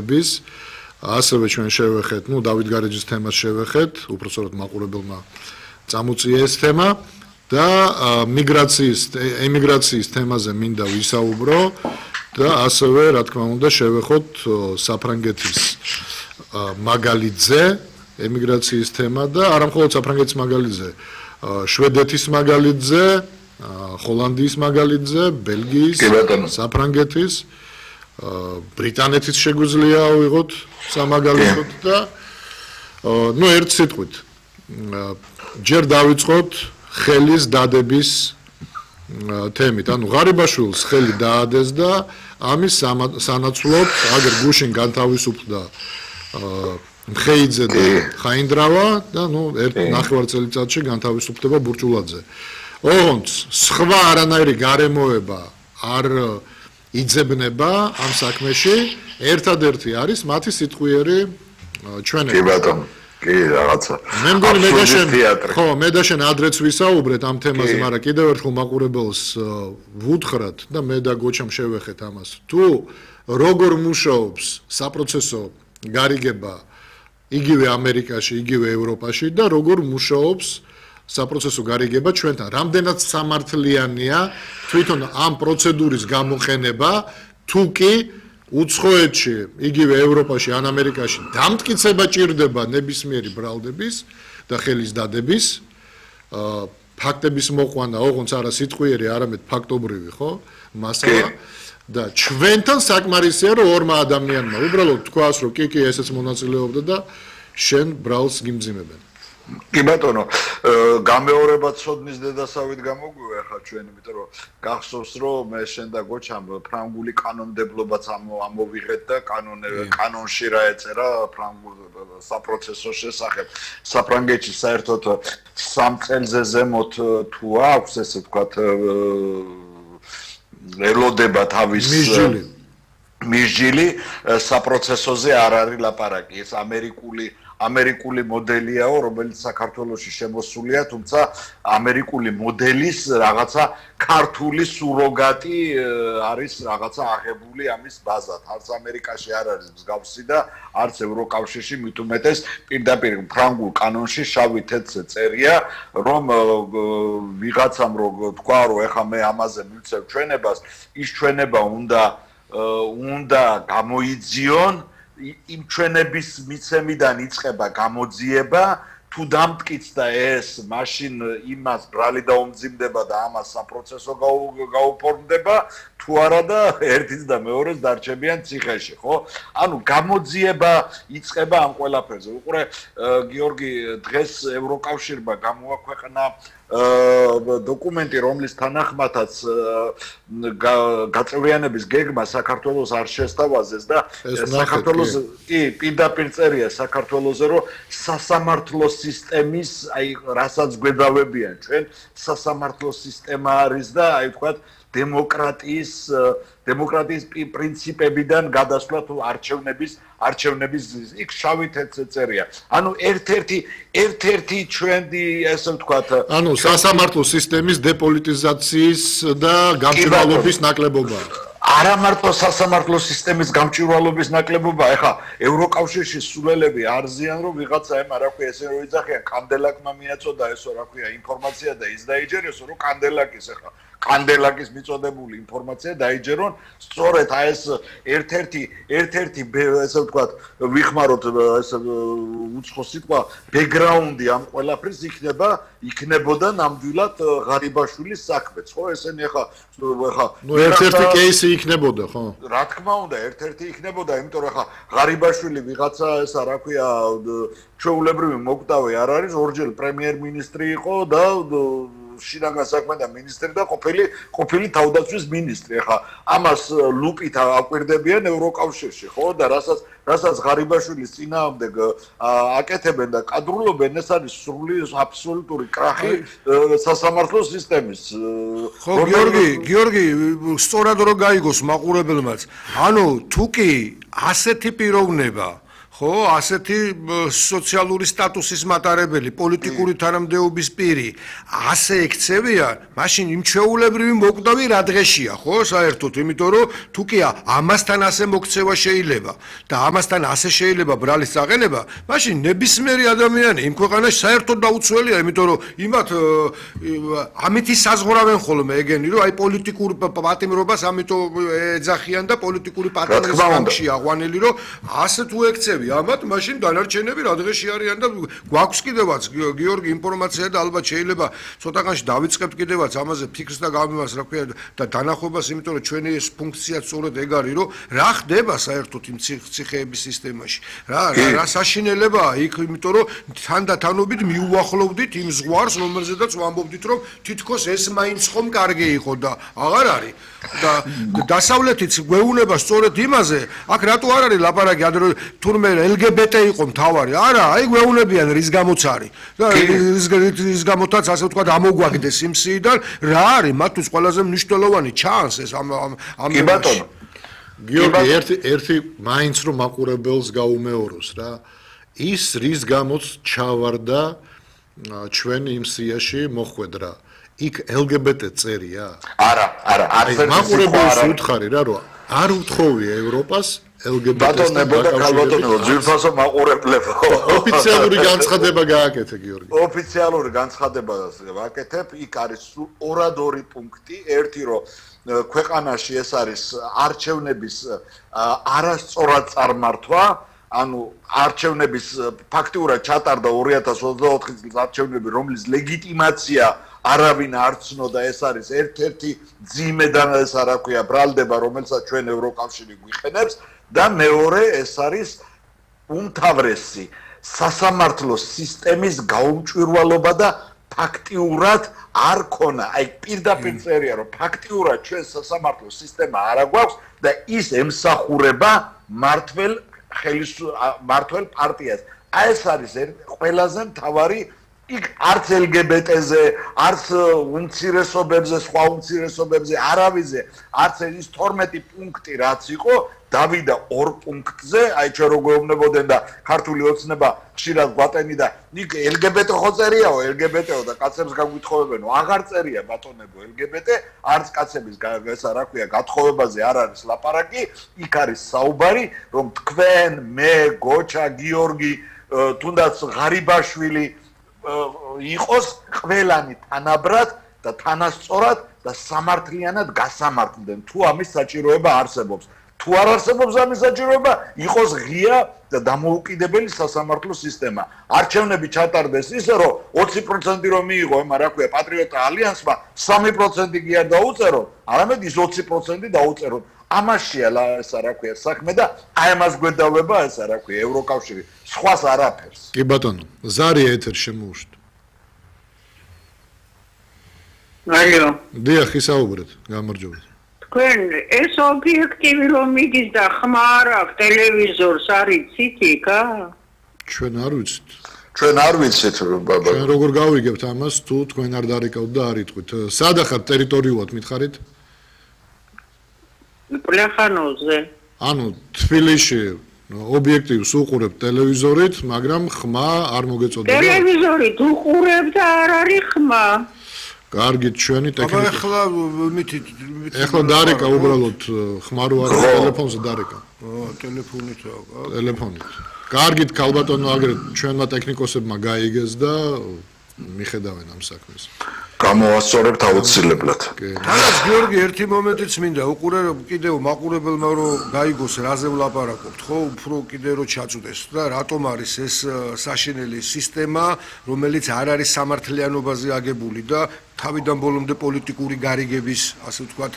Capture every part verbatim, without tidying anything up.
bis ასევე ჩვენ შევეხეთ, ну დავით გარეჯის თემას შევეხეთ, უпростоრად მაყურებელმა წამოწია ეს თემა და მიგრაციის ემიგრაციის თემაზე მინდა ვისაუბრო და ასევე რა თქმა უნდა შევეხოთ საფრანგეთის მაგალითზე ემიგრაციის თემა და არა მხოლოდ საფრანგეთის მაგალითზე, შვედეთის მაგალითზე, ჰოლანდიის მაგალითზე, ბელგიის, საფრანგეთის ბრიტანეთის შეგვიძლია ავიღოთ სამაგალითოდ და ნუ ერთ სიტყვით ჯერ დავიწყოთ ხელის დადების თემით. ანუ ღარიბაშვილს ხელი დაადეს და ამის სანაცვლოდ აგერ გუშინ განთავისუფლდა მხეიძე და ხაინდრავა და ნუ ერთ ნახევარ წელიწადში განთავისუფლდება ბურჭულაძე. ოღონდ სხვა არანაირი გარემოება არ იძებნება ამ საქმეში, ერთადერთი არის მათი სიტყვიერი ჩვენება. კი ბატონო, კი რაღაცა. მე მგონი მე და შენ ხო, მე და შენ ადრეც ვისაუბრეთ ამ თემაზე, მაგრამ კიდევ ერთხელ მაყურებელს ვუთხრათ და მე და გოჩამ შევეხეთ ამას. თუ როგორ მუშაობს საპროცესო გარიგება იგივე ამერიკაში, იგივე ევროპაში და როგორ მუშაობს საპროცესო გარიგება ჩვენთან, რამდენად სამართლიანია თვითონ ამ პროცედურის გამოყენება, თუ კი უცხოეთში, იგივე ევროპაში, ან ამერიკაში დამტკიცება ჭირდება ნებისმიერი ბრალდების და ხელის დადების, ფაქტების მოყვანა, ოღონდ არა სიტყვიერი, არამედ ფაქტობრივი, ხო? მასალა და ჩვენთან საკმარისია, რომ ორმა ადამიანმა უბრალოდ თქვას, რომ კი, კი, ესეც მონაწილეობდა და შენ ბრალს გიმძიმებენ. კი ბატონო, გამეორება ცოდნის დედასავით გამოგვია ხა ჩვენ, იმიტომ რომ გახსოვს რომ მე შენ და გოჩამ ფრანგული კანონმდებლობაც ამოვიღეთ და კანონში რა ეწერა ფრანგულ საპროცესო შესახებ. საფრანგეთში საერთოდ სამ წელზე ზემოთ თუ აქვს ესე ვთქვათ ელოდება თავის მისჯილი საპროცესოზე არ არის ლაპარაკი. ეს ამერიკული ამერიკული მოდელიაო, რომელიც საქართველოში შემოსულია, თუმცა ამერიკული მოდელის რაღაცა ქართული სუროგატი არის რაღაცა აღებული ამის ბაზად. არც ამერიკაში არ არის მსგავსი და არც ევროკავშირში, მით უმეტეს პირდაპირ ფრანგულ კანონში შავი თეთრზე წერია, რომ ვიღაცამ რო თქვა, რომ ეხა მე ამაზე მივცევ ჩვენებას, ის ჩვენება უნდა უნდა გამოიძიონ იმ ჩვენების მიცემიდან იწყება გამოძიება, თუ დამტკიცდა ეს, მაშინ იმას ბრალი დაუმძიმდება და ამას საპროცესო გაუფორმდება, თუ არა და ერთის და მეორეს დარჩებიან ციხეში, ხო? ანუ გამოძიება იწყება ამ ყველაფერზე. უყურე, გიორგი, დღეს ევროკავშირმა გამოაქვეყნა დოკუმენტი, რომლის თანახმადაც გაწევრიანების გეგმა საქართველოს არ შესთავაზეს და საქართველოს კი პირდაპირ წერია საქართველოზე, რომ სასამართლო სისტემის, აი, რასაც გვედავებიან ჩვენ, სასამართლო სისტემა არის და აი ვთქვათ დემოკრატიის დემოკრატიის პრინციპებიდან გადასვლა თუ არჩევნების არჩევნების იქ შავი თეთრზე წერია. ანუ ერთ-ერთი ერთ-ერთი ჩვენი ესე ვთქვათ, ანუ სასამართლო სისტემის დეპოლიტიზაციის და გამჭვირვალობის ნაკლებობა. არა მარტო სასამართლო სისტემის გამჭვირვალობის ნაკლებობა, ეხა ევროკავშირში სულელები არ ზიან, რომ ვიღაცა ემ რა ქვია ესე რომ იძახიან, კანდელაკმა მიაწოდა ესო რა ქვია ინფორმაცია და ის დაიჯერესო, რომ კანდელაკის ეხა კანდელაკის მიწოდებული ინფორმაცია დაიჯერონ, სწორედ აი ეს ერთ-ერთი ერთ-ერთი ესე ვთქვათ, ვიხმაროთ ეს უცხო სიტყვა, ბექგრაუნდი ამ ყველაფრის იქნება, იქნებოდა ნამდვილად ღარიბაშვილის საქმეც, ხო? ესენი ეხა ეხა ნუ ერთ-ერთი кейსი იქნებოდა, ხო? რა თქმა უნდა, ერთ-ერთი იქნებოდა, იმიტომ რომ ეხა ღარიბაშვილი ვიღაცა ესა რა ქვია, ჩვეულებრივი მოკვდავი არ არის, ორჯერ პრემიერ-მინისტრი იყო და შინაგან საქმეთა მინისტრი და ყოფილი ყოფილი თავდაცვის მინისტრი. ახლა ამას ლუპით აკვირდებიან ევროკავშირში, ხო? და რასაც რასაც ღარიბაშვილის წინააღმდეგ აკეთებენ და კადრულობენ, ეს არის სრული აბსოლუტური კრახი სასამართლო სისტემის. ხო, გიორგი, გიორგი, სწორად რო გაიგოს მაყურებელმაც. ანუ თუ კი ასეთი პიროვნება ხო, ასეთი სოციალური სტატუსის მატარებელი, პოლიტიკური თანამდებობის პირი, ასე ექცევიან, მაშინ იმ ჩვეულებრივი მოკვდავი რა დღეშია, ხო, საერთოდ, იმიტომ რომ თუ კი ამასთან ასე მოქცევა შეიძლება და ამასთან ასე შეიძლება ბრალის წაყენება, მაშინ ნებისმიერი ადამიანი იმ ქვეყანაში საერთოდ დაუცველია, იმიტომ რომ იმათ ამითი საზღვრავენ ხოლმე ეგენი, რომ აი პოლიტიკურ პატიმრობას ამიტომ ეძახიან და პოლიტიკური პატიმრის გამში აღვანილი, რომ ასე თუ ექცევი ამათ მაშინ დანარჩენები რა დღეში არიან და გვაქვს კიდევაც გიორგი ინფორმაცია და ალბათ შეიძლება ცოტაღანში დავიწყებთ კიდევაც ამაზე ფიქრს და გამიმას რა ქვია და დანახვებას იმიტომ რომ ჩვენი ეს ფუნქცია სწორედ ეგ არის რომ რა ხდება საერთოდ იმ ციხეების სისტემაში რა რა საშინელებაა იქ იმიტომ რომ თანდათანობით მიუახლოვდით იმ ზღვარს რომელზედაც ვამბობდით რომ თითქოს ეს მაინც ხომ კარგი იყო და აღარ არის და დასავლეთიც გვეუბნება სწორედ იმაზე აქ რატო არ არის ლაპარაკი ადრე თურმე ელ გი ბი ტი იყო მთავარი არა აი გვეუბნებიან რის გამოც არის და რის გამოთაც ასე ვთქვათ ამოგვაგდეს იმ სიიდან რა არის მათთვის ყველაზე მნიშვნელოვანი ჩანს ეს ამ ამ კი ბატონო გიორგი ერთი ერთი მაინც რომ მაყურებელს გაუმეოროს რა ის რის გამოც ჩავარდა ჩვენ იმ სიაში მოხვედრა იქ ელ გი ბი ტი წერია არა არა არის მაყურებელს უთხარი რა რომ არ უთხოვია ევროპას ელ გი ბი ტი-სთან ბატონებო და ქალბატონებო ძვირფასო მაყურებლებო ოფიციალური განცხადება გააკეთე გიორგი ოფიციალური განცხადება ვაკეთებ იქ არის ორადორი პუნქტი ერთი რომ ქვეყანაში ეს არის არჩევნების არასწორად წარმართვა ანუ არჩევნების ფაქტიურად ჩატარდა ორი ათას ოცდაოთხი წლის არჩევნები რომლის ლეგიტიმაცია არავინ არ ცნოდა ეს არის ერთ-ერთი ძიმე და ეს რა ქვია ბრალდება რომელსაც ჩვენ ევროკავშირი გვიყენებს და მეორე ეს არის უმთავრესი სასამართლო სისტემის გაუმჭვირვალობა და ფაქტიურად არ ქონა აი პირდაპირ წერია რომ ფაქტიურად ჩვენ სასამართლო სისტემა არ აგვაქვს და ის ემსახურება მართლ მართლ პარტიას აი ეს არის ყველაზე მთავარი იქ არც ელ გი ბი ტი-ზე, არც უმცირესობებზე, სხვა უმცირესობებზე, არავიზე, არც ის თორმეტი პუნქტი რაც იყო, დავიდა ორ პუნქტზე, აი ჩვენ რო გვეუბნებოდნენ და ქართული ოცნება ხშირად გვატენი და იქ ელ გი ბი ტი ხო წერიაო, ელ გი ბი ტი-ო და კაცებს გაგვითხოვებენო, აღარ წერია ბატონებო ელ გი ბი ტი, არც კაცების ესა რა ქვია, გათხოვებაზე არ არის ლაპარაკი, იქ არის საუბარი, რომ თქვენ, მე, გოჩა, გიორგი, თუნდაც ღარიბაშვილი იყოს ყველანი თანაბრად და თანასწორად და სამართლიანად გასამართლდნენ თუ ამის საჭიროება არსებობს თუ არ არსებობს ამის საჭიროება იყოს ღია და დამოუკიდებელი სასამართლო სისტემა არჩევნები ჩატარდეს ისე რომ ოცი პროცენტი რომ მიიღო ема რა ქვია პატრიოტთა ალიანსმა სამი პროცენტი კი არ დაუწერო არამედ ის ოცი პროცენტი დაუწეროთ ამაშია ესა რა ქვია საქმე და აი ამას გვედავება ესა რა ქვია ევროკავშირი სხვას არაფერს კი ბატონო ზარია ეთერ შემოუშვით აიო დიახ ისაუბრეთ გამარჯობეთ თქვენ ეს ობიექტივი რომ მიდის და ხმა არ აქვს ტელევიზორს არიცით იქა ჩვენ არ ვიცით ჩვენ არ ვიცით ბაბა ჩვენ როგორ გავიგებთ ამას თუ თქვენ არ დარეკავთ და არ იტყვით სადახარ ტერიტორიულად მითხარით პლეხანოზე ანუ თბილისში ობიექტივს უყურებთ ტელევიზორით მაგრამ ხმა არ მოგეწოდება ტელევიზორით უყურებ და არ არის ხმა კარგით ჩვენი ტექნიკა აბა ეხლა მითით ეხლა დარეკა უბრალოდ ხმა რო არის ტელეფონზე დარეკა ო ტელეფონით რა ტელეფონით კარგით ქალბატონო აგრეთ ჩვენმა ტექნიკოსებმა გაიგეს და მიხედავენ ამ საქმეს გამოვასწორებთ აუცილებლად თანაც გიორგი ერთი მომენტიც მინდა უყურე კიდევ მაყურებელმა რომ გაიგოს რაზე ვლაპარაკობთ ხო უფრო კიდევ რომ ჩაწუდეს და რატომ არის ეს საშინელი სისტემა რომელიც არ არის სამართლიანობაზე აგებული და თავიდან ბოლომდე პოლიტიკური გარიგების ასე ვთქვათ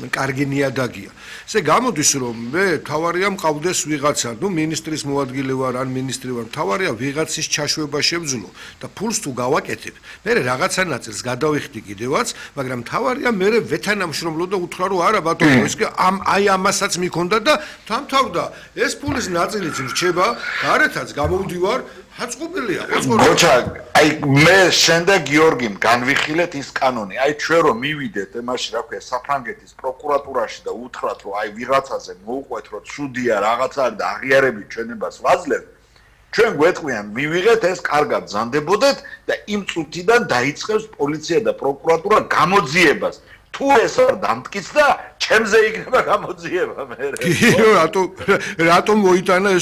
კარგი ნიადაგია. ესე გამოდის რომ მე თავარია მყავდეს ვიღაცა, ნუ მინისტრის მოადგილე ვარ ან მინისტრი ვარ, თავარია ვიღაცის ჩაშვება შევძლო და ფულს თუ გავაკეთებ, მე რაღაცა ნაწილს გადავ დავიხდი კიდევაც, მაგრამ თავარია მე ვეთანამშრომლო და უთხრა რომ არა ბატონო, ეს ამ აი ამასაც მიქონდა და თამთავდა ეს ფულის ნაწილიც რჩება, გარეთაც გამოვდივარ ჰაწყობილია ხო? გოჩა, აი მე შენდა გიორგიმ განვიხილეთ ის კანონი. აი ჩვენ რომ მივიდეთ ემაში, რა ქვია, საფრანგეთის პროკურატურაში და უთხრათ რომ აი ვიღაცაზე მოუყვეთ რომ ცუდია რაღაცა და აღიარებით ჩვენებას ვაძლევთ. ჩვენ გვეტყვიან მივიღეთ ეს კარგად ზანდებოდეთ და იმ წუთიდან დაიწყებს პოლიცია და პროკურატურა გამოძიებას. თუ ეს არ დამტკიცდა, ჩემზე იქნება გამოძიება მე. რატო რატომ მოიტანა ეს